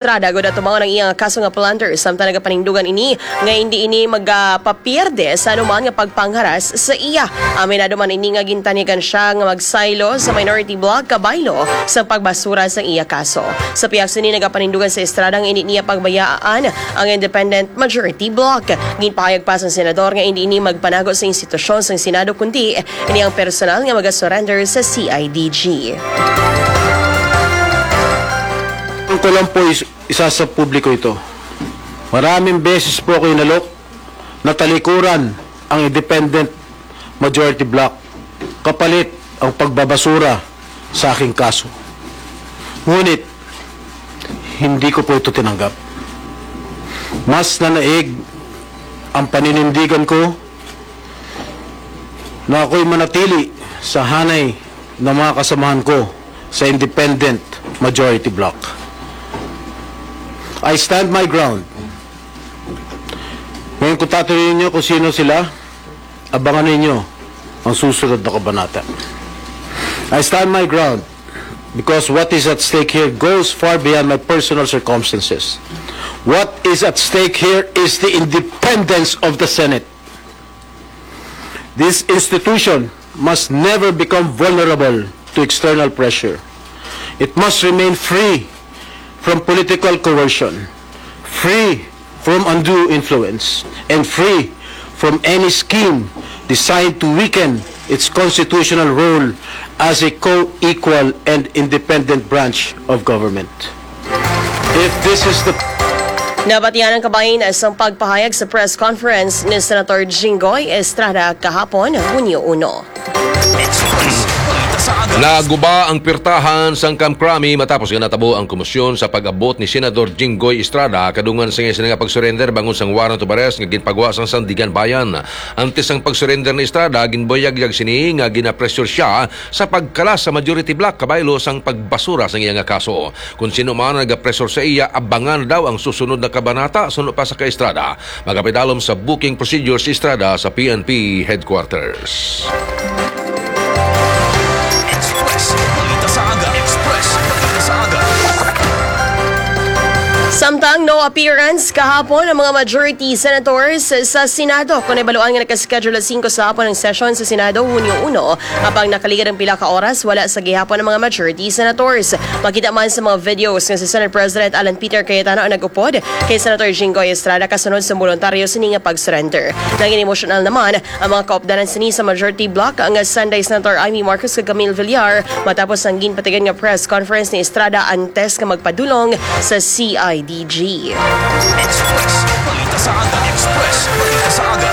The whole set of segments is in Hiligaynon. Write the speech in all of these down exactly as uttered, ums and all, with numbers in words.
Estrada gud atubangon ang iyang kaso nga plunder, samtang nagapanindugan ini nga hindi ini magapapierde sa anuman nga pagpangharas sa iya. Aminado man ini nga gintanigan siya nga magsaylo sa minority bloc kabaylo sa pagbasura sa iya kaso. Sa pihak sini, nagapanindugan sa Estrada nga hindi niya pagbayaan ang independent majority bloc. Ginpahayag pa sang senador nga hindi ini magpanago sa institusyon sang Senado kundi ini ang personal nga magasurrender sa C I D G. Ang ko lang po is isa sa publiko ito. Maraming beses po ako inalok na talikuran ang independent majority bloc kapalit ang pagbabasura sa aking kaso. Ngunit, hindi ko po ito tinanggap. Mas nanaig ang paninindigan ko na ako'y manatili sa hanay ng mga kasamahan ko sa independent majority bloc. I stand my ground. Ngayon, kung tatanungin niyo kung sino sila, abangan ninyo ang susunod na kabanata. I stand my ground because what is at stake here goes far beyond my personal circumstances. What is at stake here is the independence of the Senate. This institution must never become vulnerable to external pressure. It must remain free from political coercion, free from undue influence, and free from any scheme designed to weaken its constitutional role as a co-equal and independent branch of government. If this is the Nabatian ang kabahin sa pagpahayag sa press conference ni Senator Jinggoy Estrada kahapon, Hunyo uno. Naguba ang pirtahan sang Kamkrami matapos nga natabo ang komosyon sa pag-abot ni Senador Jinggoy Estrada kadungan sa iya sini nga pag-surrender bangod sang warrant of arrest nga ginpagwa sang Sandiganbayan. Antes sang pag-surrender ni Estrada, ginbuyagyag sini nga ginapressure siya sa pagkalas sa majority bloc kabaylo sang pagbasura sang iya nga kaso. Kon sino man ang nagapresor sa iya, abangan daw ang susunod na kabanata suno pa sa kay Estrada. Magapidalom sa booking procedure si Estrada sa P N P headquarters. Samtang no appearance kahapon ang mga majority senators sa Senado. Kung nabaluan nga nakaschedule alas singko sa hapon ang session sa Senado, Hunyo uno, habang nakaligad ang pila ka oras, wala sa gihapon ang mga majority senators. Makita man sa mga videos nga si Senate President Alan Peter Cayetano ang nag-upod kay Senator Jinggoy Estrada kasunod sa boluntaryo sini nga pag-surrender. Naging emotional naman ang mga kaupdanan sini sa majority bloc nga sanday Senator Imee Marcos kag Camille Villar matapos ang ginpatigan nga press conference ni Estrada antes nga magpadulong sa C I D G. Express. Balita sa aga. Express. Balita sa aga.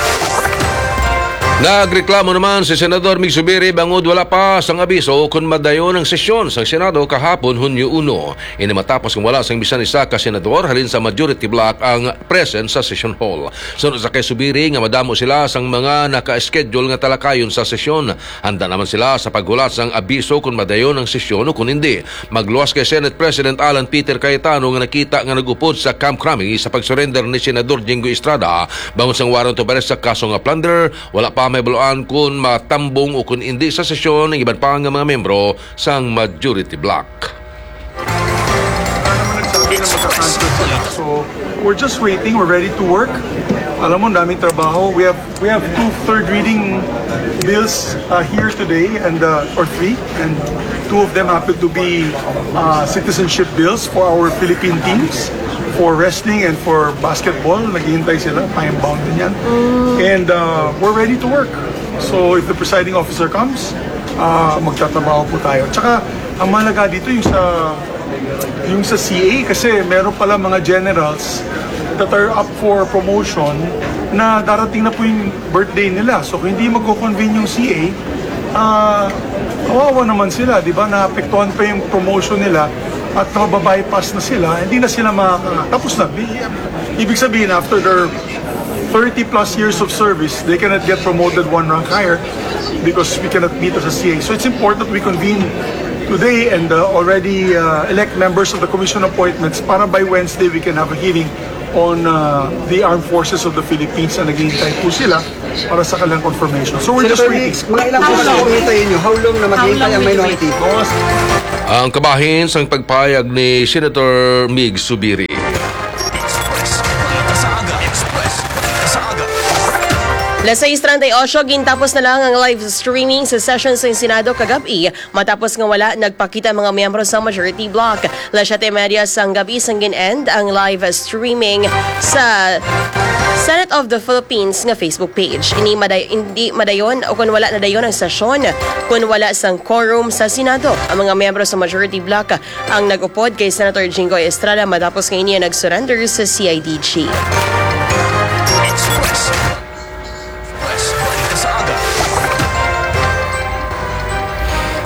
Nagreklamo naman si Senador Mig Zubiri bangod wala pa sang abiso kon madayon ang sesyon sang Senado kahapon, Hunyo uno. Ini matapos nga wala sang bisan isa ka senador halin sa majority bloc ang present sa session hall. Suno sa kay Zubiri nga madamo sila sang mga naka-schedule nga talakayon sa sesyon. Handa naman sila sa paghulat sang abiso kon madayon ang sesyon o kon hindi. Magluwas kay Senate President Alan Peter Cayetano nga nakita nga nag-upod sa Kamkrami sa pag-surrender ni Senador Jinggoy Estrada bangod sang warrant of arrest sa kaso nga plunder, wala pa mahibaluan kon matambong o kon hindi sa sesyon ang iban pa nga mga miyembro sang majority bloc. Wala naman nagsabi na magka-cancel sila. So, we're just waiting. We're ready to work. Alam mo, daming trabaho. We have we have two third reading bills uh, here today, and uh, or three, and two of them happen to be uh, citizenship bills for our Philippine teams, for wrestling and for basketball. Naghihintay sila, time bound din yan. And uh, we're ready to work. So if the presiding officer comes, uh, magtatrabaho po tayo. Tsaka, ang mahalaga dito yung sa yung sa C A, kasi meron pala mga generals that are up for promotion na darating na po yung birthday nila. So kung hindi magko-convene yung C A, ah, kawawa naman sila, di ba? Naapektuhan pa yung promotion nila at mababypass na sila, hindi na sila makaka... Tapos na. Di- Ibig sabihin, after their thirty plus years of service, they cannot get promoted one rank higher because we cannot meet as a C A. So it's important that we convene today and uh, already uh, elect members of the commission appointments para by Wednesday we can have a hearing on uh, the armed forces of the Philippines na naghihintay po sila para sa kanilang confirmation. So we're just Senator waiting. Migs, mga ilang oras ang hintayin nyo? How long na maghihintay ang minority? Ang kabahin sang pagpahayag ni Senator Migs Zubiri. Las sais treinta y ocho, gintapos na lang ang live streaming sa session sa Senado kagab-i matapos nga wala nagpakita ang mga miyembro sa majority bloc. Las siete y media sang gabi sang gin-end ang live streaming sa Senate of the Philippines nga Facebook page. Ini maday-, hindi madayon o kung wala nadayon ang sesyon kung wala sang quorum sa Senado. Ang mga miyembro sa majority bloc ang nag-upod kay Senator Jinggoy Estrada matapos nga ini nag-surrender sa C I D G.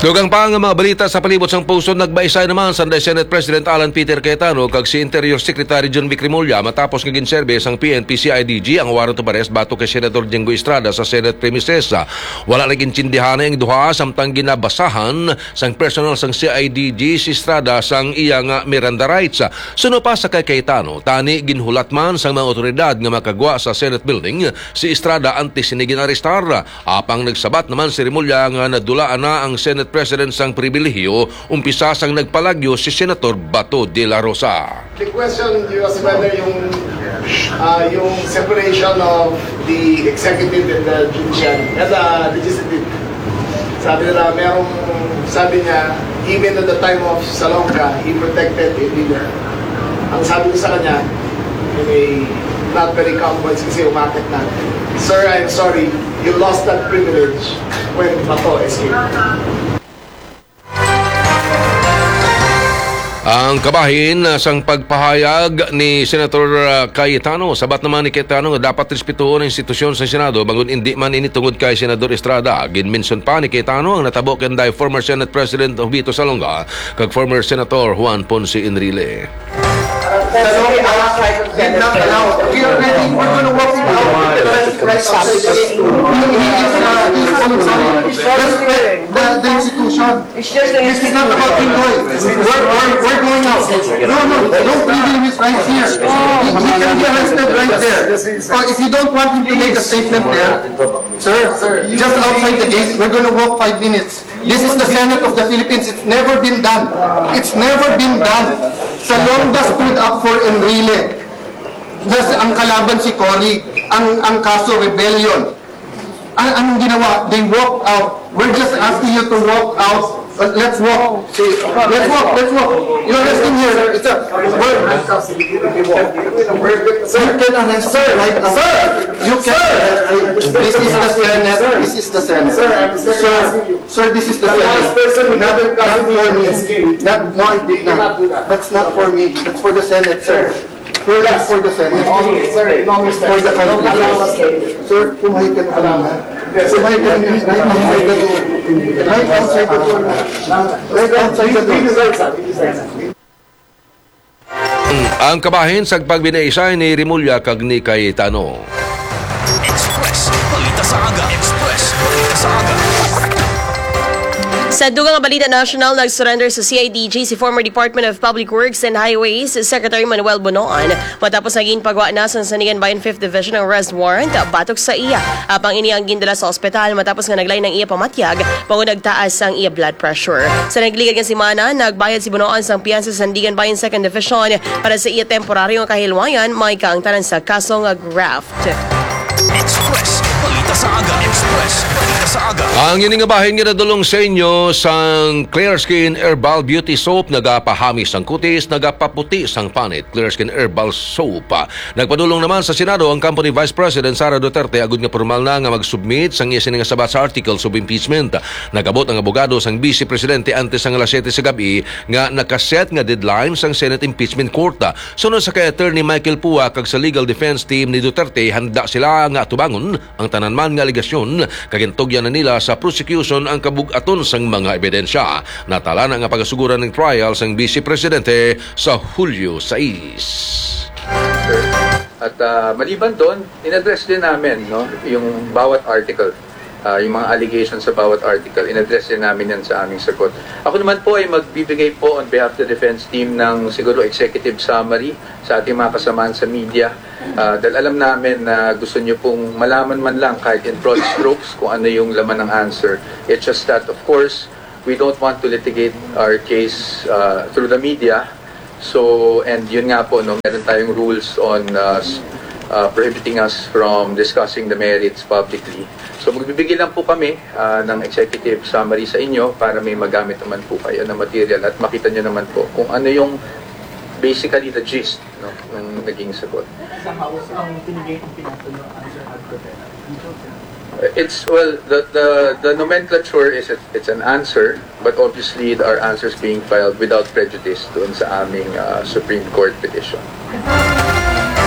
Dugang pa nga mga balita sa palibot sang pusod, nagbaisay naman sa Senate President Alan Peter Cayetano kag si Interior Secretary John Vic Remulla matapos nga ginserbe sang P N P C I D G ang warrant of arrest batok kay Senator Jinggoy Estrada sa Senate premises. Wala nag-intindihan ang duha samtang ginabasahan sang personnel sang C I D G si Estrada sang iya nga Miranda rights. Suno pa sa kay Cayetano, tani ginhulat man sang mga otoridad nga makagwa sa Senate building si Estrada antes sini ginarestar. Apang nagsabat naman si Remulla nga nadulaan na ang Senate President sang pribilehiyo umpisa sang nagpalagyo si Senator Bato de la Rosa. The question was whether yung uh, yung separation of the executive and the judiciary and the legislative. Sabi nila, merong, sabi niya, even at the time of Salonga, he protected a leader. Ang sabi ko sa kanya, in a not very calm voice kasi umakit na, "Sir, I'm sorry, you lost that privilege when Bato escaped." Ang kabahin sang pagpahayag ni Senator uh, Cayetano. Sabat naman ni Cayetano nga dapat respetuhon ang institusyon sa Senado bangod indi man ini tungod kay Senador Estrada. Ginmension pa ni Cayetano ang natabo kay former Senate President Jovito Salonga kag former Senator Juan Ponce Enrile. Did not allow. We are ready. We're gonna walk it out. Respect the, the institution. This is not about Pinoy. We're, we're, we're going out. No, no, don't leave him right here. He, he can be arrested right there. So if you don't want him to make a statement there, sir, just outside the gate, we're gonna walk five minutes. This is the Senate of the Philippines. It's never been done. It's never been done. Salonga stood up for Enrile. Just ang kalaban si Cory, ang ang kaso rebellion. An anong ginawa? They walked out. We're just asking you to walk out. Uh, let's walk. Let's walk. Let's walk. You're resting here. It's a, we're, you can arrest her right now. Sir, you can. This is the Senate. This is the Senate. Sir, Sir, this is the Senate. Not, not for me. Not, no, I did not. That's not for me. That's for the Senate, sir. Sir, that's for the Senate. For the country. Sir, kumain ka na kanina. Kumain ka na kanina. Right outside the door. Right outside the door. Right outside the door. Ang kabahin sa pagbinaisay ni Remulla kag ni Cayetano. Express Balita sa Aga. Express Balita sa Aga. Sa dugang nga balita nasyonal, nag-surrender sa C I D G si former Department of Public Works and Highways Secretary Manuel Bonoan matapos nga ginpagwa na sa Sandiganbayan Fifth Division ang arrest warrant batok sa iya. Apang ini ang gindala sa ospital matapos nga naglain ang iya pamatyag, bangod nagtaas ang iya blood pressure. Sa nagligad nga semana, nagbayad si Bonoan sang piyansa sa Sandiganbayan Second Division para sa iya temporaryo nga kahilwayan, may kaangtanan sa kaso nga graft. Express Balita sa Aga. Express Balita sa Aga. Ang ini nga bahin nga nadulong sa inyo sang Clear Skin Herbal Beauty Soap, nagapahamis sang kutis, nagapaputi sang panit. Clear Skin Herbal Soap. Nagpadulong naman sa Senado ang kampo ni Vice President Sara Duterte agud nga pormal na nga mag-submit sang iya sini nga sabat sa articles of impeachment. Nag-abot ang abogado sang Vice Presidente antes sang alas siyete sa gab-i nga nakaset nga deadline sang Senate Impeachment Court. Suno sa kay Attorney Michael Pua kag sa legal defense team ni Duterte, handa sila nga atubangon ang tanan man nga alegasyon, kag gintugyan na nila sa prosecution ang kabug-aton sang mga ebidensya. Natala na nga pagasuguran ang trial sang Vice Presidente sa Hulyo sais. At ah, maliban doon, in-address din namin, no, yung bawat article. Ah, yung mga allegations sa bawat article, in-address din namin yan sa aming sagot. Ako naman po ay magbibigay po on behalf of the defense team ng siguro executive summary sa ating mga kasamaan sa media. Ah, dahil alam namin na gusto niyo pong malaman man lang kahit in broad strokes kung ano yung laman ng answer. It's just that, of course, we don't want to litigate our case uh, through the media. So, and yun nga po, no, meron tayong rules on uh, s- uh, prohibiting us from discussing the merits publicly. So, magbibigay lang po kami uh, ng executive summary sa inyo para may magamit naman po kayo na material at makita nyo naman po kung ano yung basically the gist, no, ng naging sagot. Sa House, ang pinigay kong pinasa nyo, answer had prepared. It's, well, the, the, the nomenclature is it, it's an answer, but obviously our answer is being filed without prejudice doon sa aming uh, Supreme Court petition.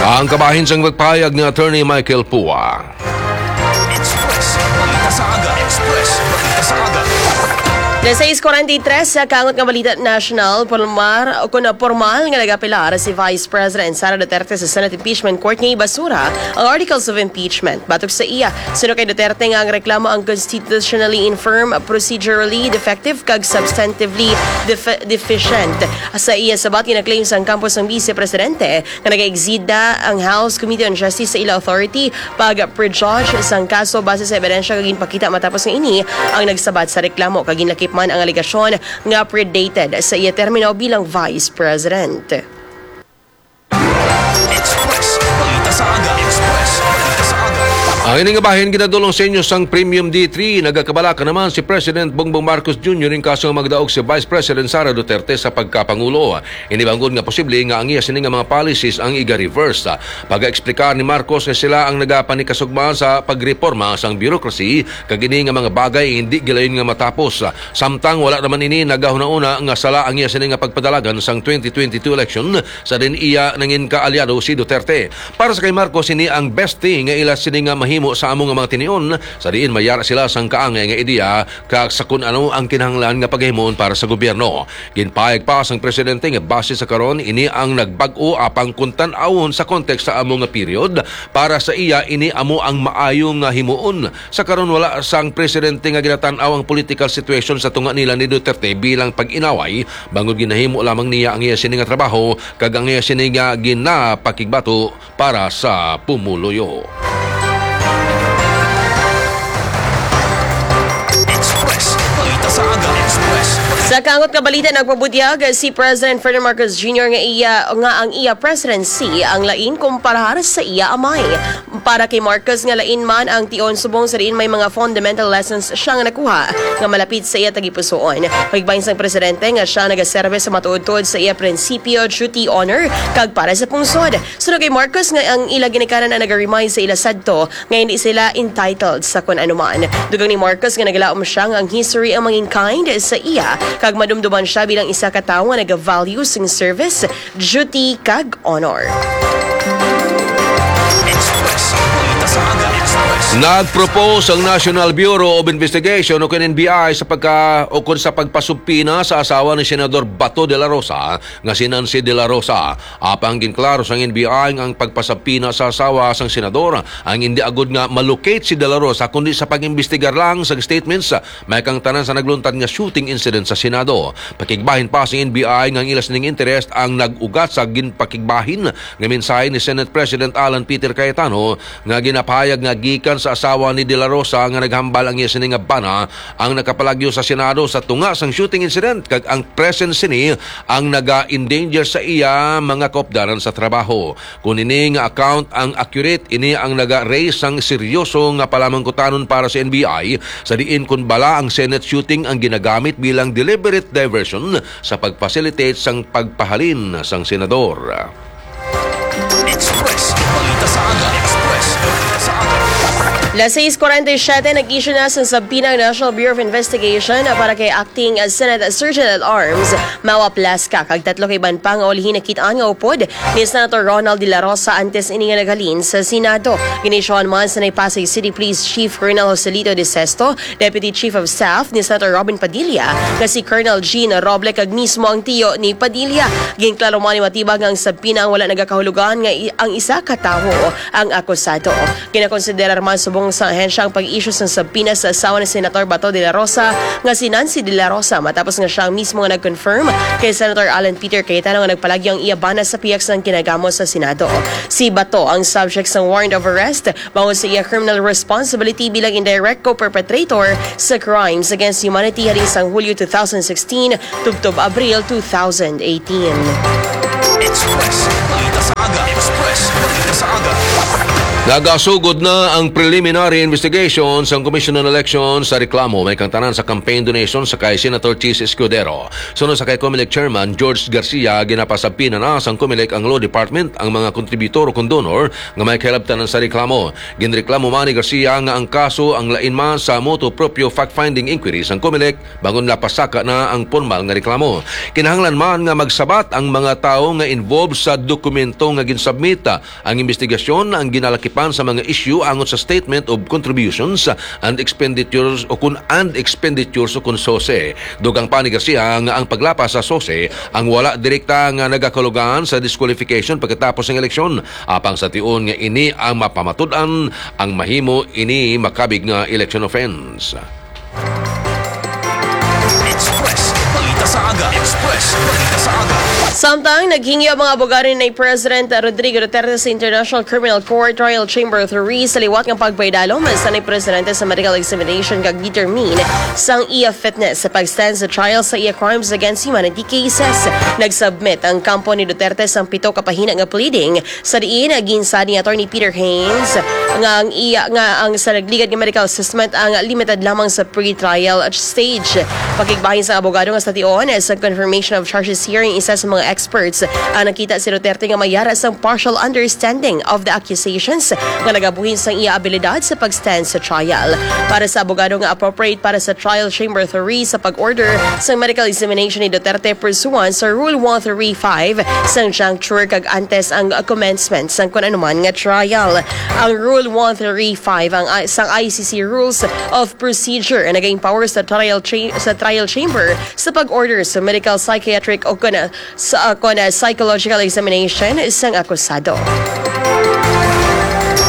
Ang kabahin sang pagpayag ni Attorney Michael Pua. Express. Balita sa aga. Express. Balita sa aga. Alas sais kuwarenta y tres sa kangot nga balita national, pormal o kun pormal nga nagapilar si Vice President Sara Duterte sa Senate Impeachment Court nga ibasura ang articles of impeachment. Batok sa iya, suno kay Duterte nga ang reklamo ang constitutionally infirm, procedurally defective kag substantively def- deficient. Sa iya sabat, gina-claim sang kampo sang Vice Presidente nga nag-exceed ang House Committee on Justice sa ila authority pag-prejudge sang kaso base sa ebidensya nga ginpakita matapos nga ini ang nagsabat sa reklamo kag ginlakip man ang alegasyon nga predated sa iya termino bilang Vice President. Express. Balita sa aga. Express. Balita sa aga. Ang ini nga bahin ginadulong sa inyo sang Premium D three. Nagakabalaka naman si President Bongbong Marcos Junior ning kaso nga magdaog si Vice President Sara Duterte sa pagkapangulo. Ini bangod nga posible nga ang iya sini nga mga policies ang iga-reverse. Pag-explicar ni Marcos nga sila ang nagapanikasugma sa pagreporma sang bureaucracy, kag ini nga mga bagay hindi gilayon nga matapos. Samtang wala naman ini nagahunahuna nga sala ang iya sini nga pagpadalagan sang twenty twenty-two election sa diin iya nangin kaalyado si Duterte. Para sa kay Marcos, ini ang best thing nga ila sini nga mahimo sa amo nga mga tinion, sa diin mayara sila sang kaangay nga ideya kag sa kun ano ang kinahanglan nga pagahimoon para sa gobyerno. Ginpahayag pa sang presidente nga base sa karon, ini ang nagbag-o apang kun tan-awon sa context sa amo nga period, para sa iya ini amo ang maayo nga himuon. Sa karon wala sang presidente nga ginatan-aw ang political situation sa tunga nila ni Duterte bilang pag-inaway, bangod ginahimo lamang niya ang iya sini nga trabaho kag ang iya sini nga ginapakigbato para sa pumuluyo. Sa kangot nga balita, nagpabutyag si President Ferdinand Marcos Junior nga iya nga ang iya presidency ang lain kumparar sa iya amay. Para kay Marcos nga lain man ang tion subong sa diin may mga fundamental lessons siya nga nakuha nga malapit sa iya tagipusoon. Pagbahin sang presidente nga siya nagaserbe sa matuod-tuod sa iya prinsipyo, duty, honor, kag para sa pungsod. Suno kay Marcos nga ang ila ginikanan ang naga-remind sa ila sadto nga hindi sila entitled sa kun ano man. Dugang ni Marcos nga nagalaom siya nga ang history ang mangin kind sa iya kag madumduman siya bilang isa ka tawo nga naga-value sing service, duty, kag honor. Nag-propose ang National Bureau of Investigation o N B I sa pagka o kun sa pagpasubpina sa asawa ni Senador Bato de la Rosa nga si Nancy de la Rosa. Apang ginklaro sang N B I nga ang pagpasabpina sa asawa sang senador ang hindi agud nga malocate si de la Rosa kundi sa pag-imbestigar lang sang statements may kang tanan sa nagluntad nga shooting incident sa Senado. Pakigbahin pa sang N B I nga ang ila sining interest ang nag-ugat sa ginpakigbahin nga mensahe ni Senate President Alan Peter Cayetano nga ginapahayag nga gikan sa asawa ni De La Rosa nga naghambal ang iya sini nga bana ang nakapalagyo sa Senado sa tunga sang shooting incident kag ang presence sini ang naga-endanger sa iya mga kaupdanan sa trabaho. Kung ini nga account ang accurate, ini ang naga-raise sang seryoso nga palamangkutanon para sa N B I, sa diin kun bala ang Senate shooting ang ginagamit bilang deliberate diversion sa pag-facilitate sang pagpahalin sang senador. Las sais kuwarenta y siyete, nag-issue na sang subpoena ang National Bureau of Investigation para kay Acting Senate Sergeant at Arms Mawa Plasca kag tatlo ka iban pa nga ulihi nakit-an nga upod ni Senator Ronald De La Rosa antes ini nga naghalin sa Senado. Gin-issuehan man sa Pasay City Police Chief Colonel Joselito De Sesto, Deputy Chief of Staff ni Senator Robin Padilla, nga si Colonel Gene Roble kag mismo ang tiyo ni Padilla. Ginklaro man ni Matibag nga ang subpoena ang wala nagakahulugan nga i- ang isa ka tawo ang akusado. Ginakonsiderar man subong Sang ahensya ang pag-issue sang subpoena sa asawa ni Senator Bato de la Rosa nga si Nancy de la Rosa, matapos nga siya ang mismo nga nag-confirm kay Senator Alan Peter Cayetano nga nagpalagyo ang iya bana sa pihak sang ginagamo sa Senado. Si Bato ang subject sang warrant of arrest bangod sa iya criminal responsibility bilang indirect co-perpetrator sa crimes against humanity halin sang Hulyo two thousand sixteen tubtob Abril two thousand eighteen. Express, balita sa aga. Express, balita sa aga. Nagasugod na ang preliminary investigation sang Commission on Elections sa reklamo may kang tanan sa campaign donation sa kay Senator Chiz Escudero. Suno sa kay Comelec Chairman George Garcia, ginapasabpina na sang Comelec ang Law Department ang mga kontributor o kon donor nga may kahilabtanan sa reklamo. Ginreklamo man ni Garcia nga ang kaso ang lain man sa motu proprio fact-finding inquiry sang Comelec, bangod napasaka na ang pormal nga reklamo. Kinahanglan man nga magsabat ang mga tawo nga involved sa dokumento nga ginsubmit. Ang imbestigasyon ang ginalakipan sa mga isyu angot sa Statement of Contributions and Expenditures o kun and Expenditures o kun sose. Dugang pa ni Garcia nga ang paglapas sa sose ang wala direkta nga nagakulugan sa disqualification pagkatapos ng eleksyon, apang sa tion nga ini ang mapamatud-an, ang mahimo ini makabig nga election offense. Express, balita sa aga. Express, balita sa aga. Samtang naghingyo ang mga abogado ni President Rodrigo Duterte sa International Criminal Court Trial Chamber three sa liwat nga pagpaidalom sa ni presidente sa medical examination kag determine sang iya fitness sa pag-stand sa trial sa iya crimes against humanity cases. Nag-submit ang kampo ni Duterte sang pito ka pahina nga pleading sa diin, ginsad ni Attorney Peter Haynes nga ang iya, nga ang sa nagligad nga medical assessment ang limited lamang sa pre-trial stage. Pakigbahin sa abogado nga sa tion sa confirmation of charges hearing, isa sa mga experts ang nakita si Duterte nga may yara sang partial understanding of the accusations nga nagabuhin sang iya abilidad sa pag-stand sa trial. Para sa abogado nga appropriate para sa trial chamber three sa pag-order sang medical examination ni Duterte pursuant sa Rule one thirty-five sang juncture kag antes ang commencement sang kun anuman nga trial. Ang Rule one thirty-five ang I- sang I C C Rules of Procedure ang nag-empower sa trial cha- sa trial chamber sa pag-order sa medical, psychiatric o kun sa kon psychological examination sang akusado.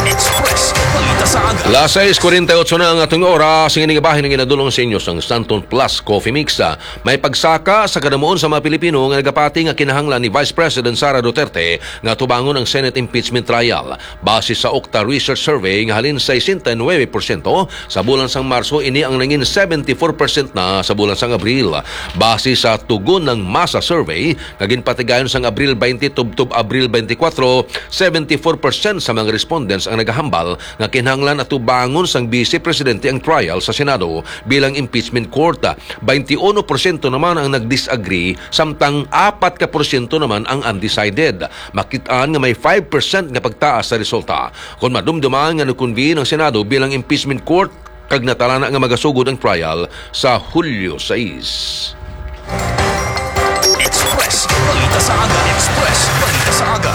Express, balita sa aga. Las sais kuwarenta y ocho na ang atong oras. Ang ining bahin ang ginadulong sa inyo sang Santon Plus Coffee Mix. May pagsaka sa kadamuon sa mga Pilipino nga nagapati nga kinahanglan ni Vice President Sara Duterte nga tubangon ang Senate impeachment trial. Base sa Okta Research Survey nga halin sesenta y nuebe porsyento sa bulan sang Marso, ini ang nangin seventy-four percent na sa bulan sang Abril. Base sa Tugon ng Masa Survey nga ginpatigayon sang Abril twenty tubtob Abril twenty-four, seventy-four percent sa mga respondents ang nagahambal nga kinahanglan atubangon sang Vice Presidente ang trial sa Senado bilang impeachment court. Twenty-uno porsyento naman ang nag-disagree, samtang apat ka porsyento naman ang undecided. Makit-an nga may five percent nga pagtaas sa resulta kon madumduman nga nag-convene ang Senado bilang impeachment court kag natalana nga magasugod ang trial sa Hulyo sais. Express, balita sa aga. Express, balita sa aga.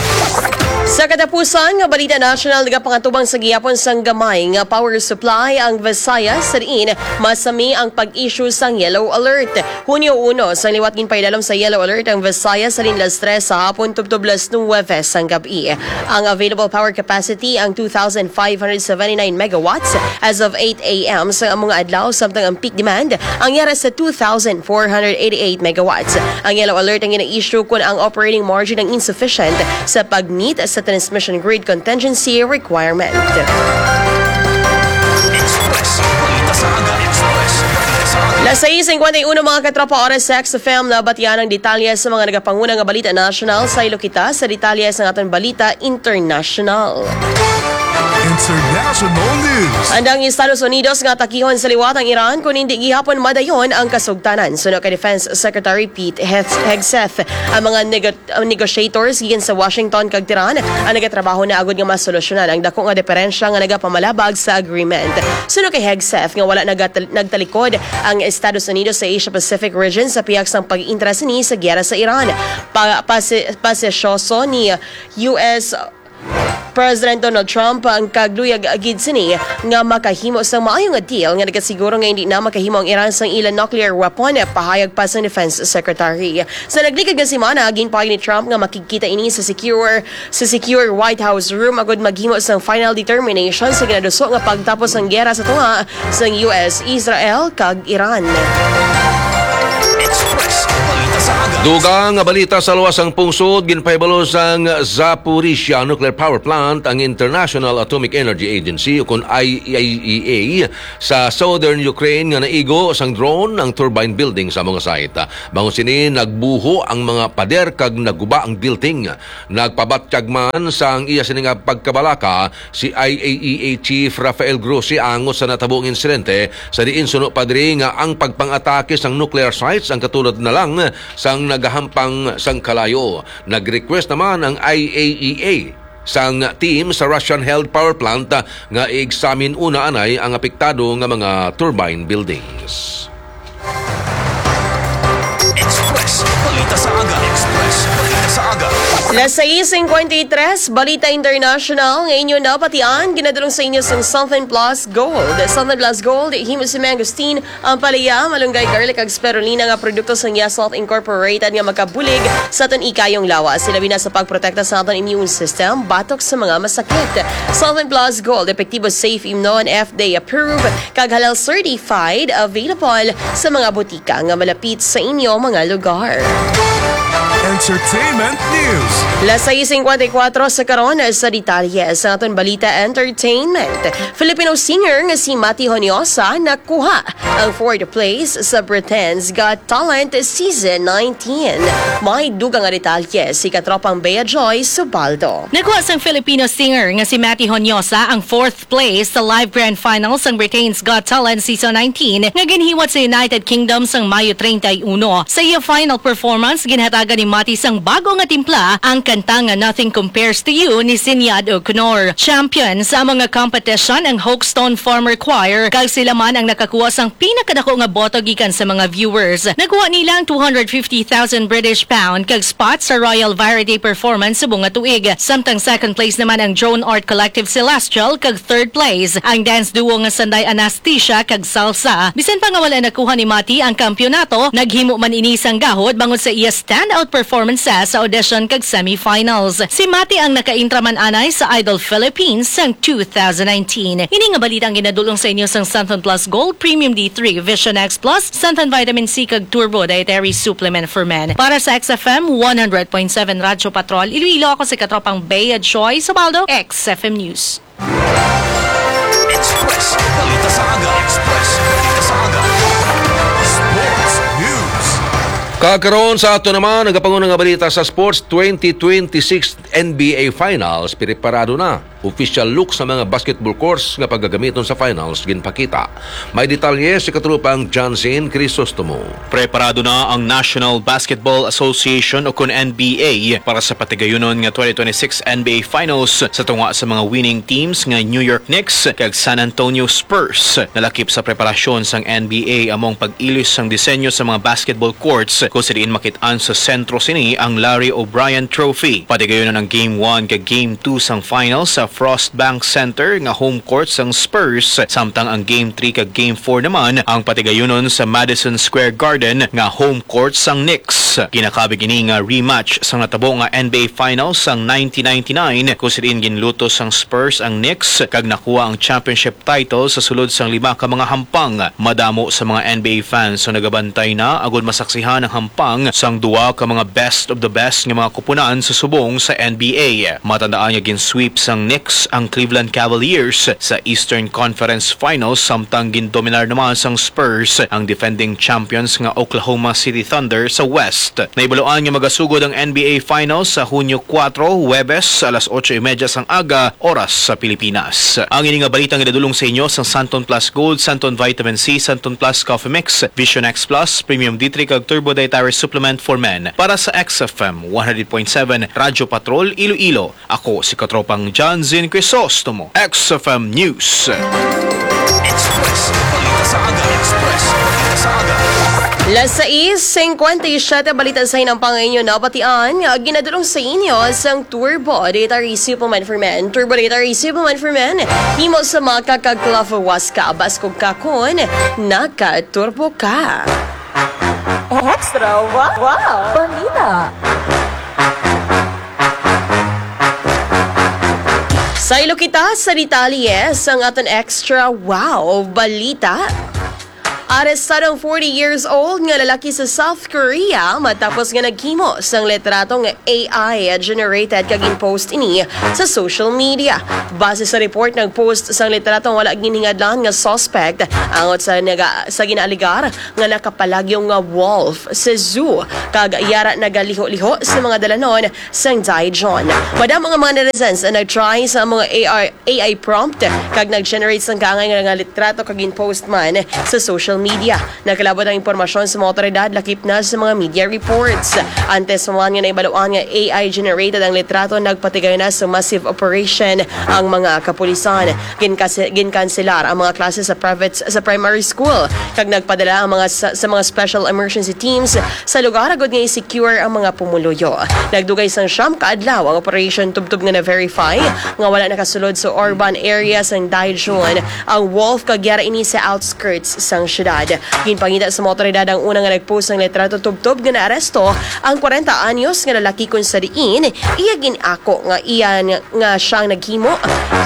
Sa katapusan nga balita nasyonal, nagapangatubang sa gihapon sang gamay nga power supply ang Visayas, sa diin masami ang pag-issue sang yellow alert. Hunyo uno, sang liwat ginpaidalom sa yellow alert ang Visayas halin las tres sa hapon tubtob las nuwebe sang gab-i. Ang available power capacity ang two thousand five hundred seventy-nine megawatts as of eight a m sa mga adlaw, samtang ang peak demand ang yara sa two thousand four hundred eighty-eight megawatts. Ang yellow alert ang gina-issue kon ang operating margin ang insufficient sa pag-meet sa transmission grid contingency requirement. Express, balita sa aga. Express, balita sa aga. Las sais cincuenta y uno, mga katropa, oras sa X F M, nabatian ang detalye sa mga nagapanguna nga balita nasyonal. Saylo kita sa detalye sa aton balita internasyonal. International News. Andang Estados Unidos nga atakihon sa liwat ang Iran kon hindi gihapon madayon ang kasugtanan. Suno kay Defense Secretary Pete Hegs- Hegseth, ang mga nego- ang negotiators gikan sa Washington kag Tehran ang nagatrabaho na agud nga masolusyonan ang dako nga diferensya nga nagapamalabag sa agreement. Suno kay Hegseth nga wala nagat- nagtalikod ang Estados Unidos sa Asia-Pacific region sa pihak sang pag-interes sini sa giyera sa Iran. Pa- pasi- pasisyoso ni U S President Donald Trump ang kagluyag gid sini nga makahimo sang maayo nga deal nga nagasiguro nga hindi na makahimo ang Iran sang ila nuclear weapon, pahayag pa sang Defense Secretary. Sa naglikod nga semana, ginpahayag ni Trump nga makigkita ini sa secure sa secure White House room agud maghimo sang final determination sa ginaduso nga pagtapos sang gera sa tunga sang U S, Israel, kag Iran. Express Balita sa Aga. Dugang nga balita sa luwas sang pungsod, ginpahibalo sang Zaporizhia Nuclear Power Plant ang International Atomic Energy Agency, ukon I A E A, sa southern Ukraine nga naigo sang drone ang turbine building sa mga site. Bangod sini, nagbuho ang mga pader kag naguba ang building. Nagpabatyag man sang iya sini nga pagkabalaka si I A E A Chief Rafael Grossi angot sa natabo nga insidente, sa diin suno pa diri nga ang pagpang-atake sang nuclear sites ang katulad na lang sang nagahampang sang kalayo. Nag-request naman ang I A E A sang team sa Russian-held power plant nga i-examine una anay ang apektado nga mga turbine buildings. Express Balita sa Aga. Express Balita sa Aga. Las sais cincuenta y tres, Balita International, nga inyo nabatian, ginadulong sa inyo sang Southern Plus Gold. Southern Plus Gold, himo si Mangosteen, ang palaya, malunggay, garlic, kag spirulina nga produkto sang Yes Health Incorporated nga makabulig sa aton ikayong lawas. Ilabi na sa pagprotekta sa aton immune system, batok sa mga masakit. Southern Plus Gold, epektibo, safe, imnon, F D A approved, kag halal certified, available sa mga butika nga malapit sa inyo mga lugar. Entertainment News. Las sais cincuenta y cuatro sa karon sa detalye sa aton balita entertainment. Filipino singer nga si Mati Honyosa nakuha ang fourth place sa Britain's Got Talent Season nineteen. May dugang nga detalye si katropang Bea Joy Subaldo. Nakuha sang Filipino singer nga si Mati Honyosa ang fourth place sa live grand final sang Britain's Got Talent Season nineteen nga ginhiwat sa United Kingdom sang Mayo treinta y uno. Sa iya final performance, ginhatagan ni Mati sang bago nga timpla, ang kanta nga Nothing Compares to You ni Sinead O'Connor. Champion sa amo nga competition ang Hoxton Farmer Choir, kag sila man ang nakakuha sang pinakadako nga boto gikan sa mga viewers. Nakuha nila ang two hundred fifty thousand British pound kag spot sa Royal Variety Performance subong nga tuig. Samtang second place naman ang Drone Art Collective Celestial kag third place ang dance duo nga Sanday Anastasia kag Salsa. Bisan pa nga wala nakuha ni Mati ang kampiyonato, naghimo man ini sang gahod bangod sa iya standout performances sa audition kag semifinals. Si Mati ang nakaintra man anay sa Idol Philippines sang two thousand nineteen. Ini nga balita ang ginadulong sa inyo sang Santon Plus Gold Premium D three, Vision X Plus, Santon Vitamin C kag Turbo Dietary Supplement for Men. Para sa X F M one hundred point seven Radyo Patrol Iloilo, ako si Katropang Bea Joy Subaldo, X F M News. Express Balita sa Aga. Express Balita sa Aga. Sports News. Kakaron sa ato naman, nagapanguna nga balita sa sports, twenty twenty-six N B A Finals, preparado na. Official look sa mga basketball courts nga pagagamiton sa finals ginpakita. May detalye si katropang Johnson Crisostomo. Preparado na ang National Basketball Association o kun N B A para sa patigayunon nga twenty twenty-six N B A Finals sa tunga sa mga winning teams nga New York Knicks kag San Antonio Spurs. Nalakip sa preparasyon sang N B A amo ang pag-ilis sang disenyo sa mga basketball courts kung sa diin makit-an sa sentro sini ang Larry O'Brien Trophy. Patigayunon ang Game one kag Game two sang finals sa Frost Bank Center nga home court sang Spurs, samtang ang Game three kag Game four naman ang patigayunon sa Madison Square Garden nga home court sang Knicks. Ginakabig ini nga rematch sang natabo nga N B A Finals sang nineteen ninety-nine, kung sa diin ginlutos sang Spurs ang Knicks kag nakuha ang championship title sa sulod sang lima ka mga hampang. Madamo sa mga N B A fans ang nagabantay na agud masaksihan ang hampang sang duha ka mga best of the best nga mga kupunan sa subong sa N B A. Matandaan nga gin-sweep sang Knicks ang Cleveland Cavaliers sa Eastern Conference Finals, samtang gindominar naman sang Spurs ang defending champions nga Oklahoma City Thunder sa West. Naibaluan nga magasugod ang N B A Finals sa Hunyo kuwatro, Huwebes, alas otso y media sang aga, oras sa Pilipinas. Ang ini nga balita nga nadulong sa inyo sang Santon Plus Gold, Santon Vitamin C, Santon Plus Coffee Mix, Vision X Plus, Premium D three kag Turbo Dietary Supplement for Men. Para sa X F M one hundred point seven Radyo Patrol Iloilo, ako si Katropang Johnson Crisostomo, X F M News. Express Balita sa Aga. Express Balita sa Aga. Las sais cincuenta y siete, balita sa hinampangan inyo nabatian, nga ginadulong sa inyo sang Turbo Data Recibo Man for Men. Turbo Data Recibo Man for Men, himo sa maka kag Clove Huasca, baskog ka kon naka-turbo ka. Extra wa-, wow! Balita. Saylo kita sa detalye sang aton extra wow balita. Arestado ang forty years old nga lalaki sa South Korea matapos nga naghimo sang litrato nga A I generated kag gin-post ini sa social media. Base sa report, nag-post sang litrato ang wala ginhingadlan nga suspect angot sa naga-, sa ginaaligar nga nakapalagyo nga wolf sa zoo, kag yara nagaliho-liho sa mga dalanon sang Daejeon. Madamo nga mga netizens ang nag-try sa mga A I, A I prompt kag nag-generate sang kaangay nga litrato kag gin-post man sa social media. Nagkalabot ang impormasyon sa mga awtoridad lakip na sa mga media reports. Antes pa man nga nahibaluan nga A I generated ang litrato, nagpatigay na sa massive operation ang mga kapulisan. Ginkase-, ginkanselar ang mga klase sa private, sa primary school, kag nagpadala ang mga sa, sa mga special emergency teams sa lugar agud nga i-secure ang mga pumuluyo. Nagdugay sang siyam ka adlaw ang operation tubtob nga na-verify nga wala nakasulod sa urban area sang Daejeon ang wolf, kag yara ini sa outskirts sang syudad. Ginpangita sa mga awtoridad ang una nga nag-post sang litrato tubtob nga naaresto ang kwarenta anyos nga lalaki, kon sa diin iya gin-ako nga iya nga siyang naghimo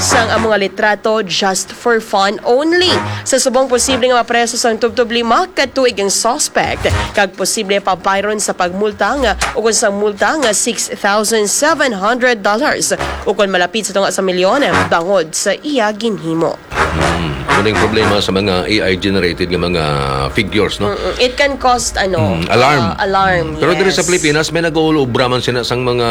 sang amo nga litrato just for fun only. Sa subong, posible nga mapreso sang tubtob lima ka tuig ang suspect, kag posible pa bayron sa pagmulta nga, o kon sang multa nga six thousand seven hundred dollars, o kon malapit sa tunga sa milyon, bangod sa iya ginhimo. Hmm. Ano yung problema sa mga A I generated nga mga figures, no? Mm-mm. It can cause, ano, Mm, alarm. uh, alarm, Pero diri sa yes. Pilipinas, may nag-uulobra man sila sang mga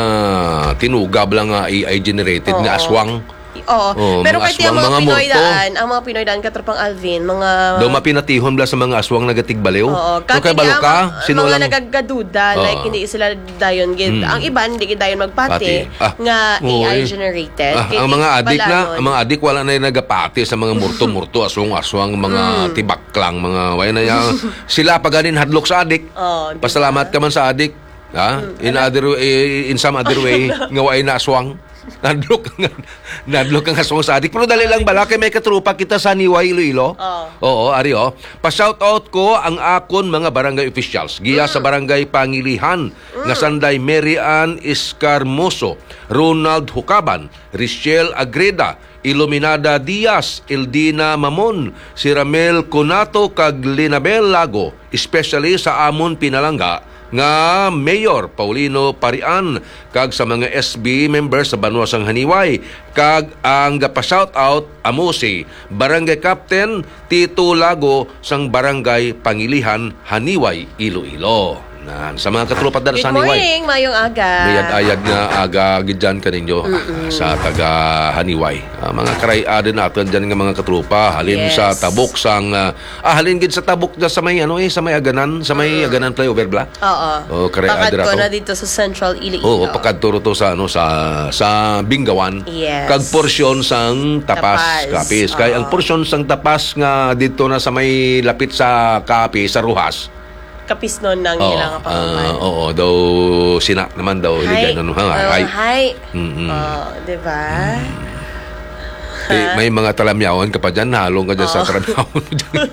tinugab lang nga A I generated nga Oo. aswang. Oo. Oo, Pero mga kahit yung aswang, mga mga Pinoy multo. daan, ang mga Pinoy daan, Katropang Alvin, mga Daw mapinatihon bala sa mga aswang nagatigbaliw. Oo. Pero kay Kati balo niya, ka, ma-, sino mga lang? nagagaduda, like, Oo. hindi sila dayon gid. Mm. Ang iban, hindi gid dayon magpati Pati. Ah, nga oo, A I eh. generated. Ah, Kay ang mga di adik na, balanon. ang mga adik wala na yung nagapati sa mga murto-murto, aswang-aswang, mga Mm. tibaklang, mga, wala na yan. Sila pa ganin hadlok sa adik. Oh, di Pasalamat ba? ka man sa adik. Ha? Mm. In Ano? other way, in some other way, nga wala na aswang. Nadlok ang, nadlok ang aswang sa adik. Pero dali lang bala, kay may katrupa kita sa Niway, Iloilo. Oh. Oo, ari, oh. Pa-shoutout ko ang akon mga barangay officials. Giya sa Mm. barangay Pangilihan, nga Mm. sanday Mary Ann Escarmoso, Ronald Hucaban, Richelle Agreda, Iluminada Diaz, Eldina Mamon, si Ramel Conato, kag Linabel Lago, especially sa amon pinalangga nga Mayor Paulino Parian, kag sa mga S B members sa banwa sang Haniway, kag ang gapa-shoutout amo si Barangay Captain Tito Lago sang Barangay Pangilihan, Haniway, Iloilo. Nan, sa mga katropa dara Good sa Haniway. morning, mayong aga. Mayad-ayad nga aga gid dyan kaninyo, ah, Mm-mm. sa taga Haniway. Ah, mga karay-a din natin dyan nga mga katropa. Halin sa Yes. tabok sang, ah, ah, halin gid sa tabok dyan sa may, ano eh, sa may Aganan, sa may Mm. Aganan flyover bla. Oo. Oh, karay-a Pakadto dira to. na dito sa Central Iloilo. Oo, pakadto ro to sa, ano, sa, sa Bingawan. Yes. Kag porsyon sang Tapas, Tapas. Capiz. Kay ang Oo. porsyon sang Tapas nga dito na sa may lapit sa Capiz, sa Roxas, Kapisnon ang Oo, ilang ah, pangalan. oo, daw sina naman daw, Hi. hiligay na, no, ha, Oh, hi. hi. Mm-mm. Oh, di ba? Mm. Eh, Ha? may mga talamyawan ka pa dyan, halong ka dyan sa Ah. talamyawan mo dyan.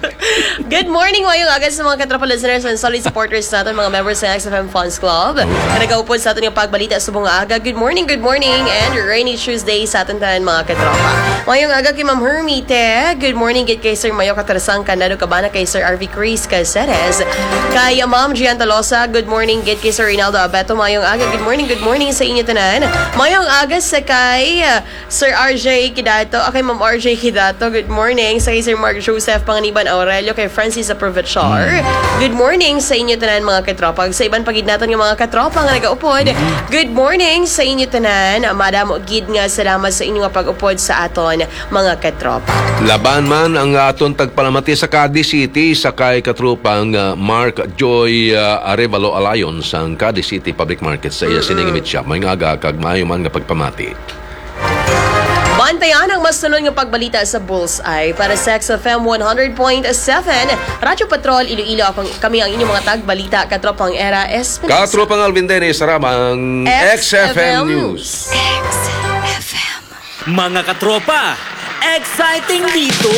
Good morning, mayong aga sa mga katropa listeners and solid supporters natin, mga members sa X F M Fans Club. Oo. Na nagaupod sa atin yung pagbalita sa mga aga. Good morning, good morning, and rainy Tuesday sa atin tanan, mga katropa. Mayong aga kay Ma'am Hermite. Good morning, gid kay Sir Mayo Katarasang Candado Cabana, kay Sir R V Chris Caceres, kay Ma'am Gian Tolosa. Good morning, gid kay Sir Rinaldo Abeto. Mayong aga. Good morning, good morning sa inyo tanan. Mayong aga sa kay, uh, Sir R J Kidato. Ah, kay Ma'am R J Kidato. Good morning. Sa kay Sir Mark Joseph Panganiban Aurelio, kay Francis Aprovechar. Mm. Good morning sa inyo tanan, mga katropa. Sa iban pa gid naton nga mga katropa nga nagaupod. Mm. Good morning sa inyo tanan. Madamo gid nga salamat sa inyo nga pag-upod sa aton, mga katropa. Laban man ang aton tagpalamati sa Cadiz City, sa kay katropang, ah, Mark Joy, ah, Arevalo Alayon sang Cadiz City Public Market sa iya Mm-mm. sining mitya. May nga aga kag maayo man nga pagpamati. Antayan ang mas sunod nga pagbalita sa Bullseye para sa X F M one hundred point seven, Radyo Patrol, Iloilo. Ako, kami ang inyong mga tagbalita, Katropang Era Espinosa. Katropang Alvin Dennis, Ramang X F M News. Mga katropa, exciting dito!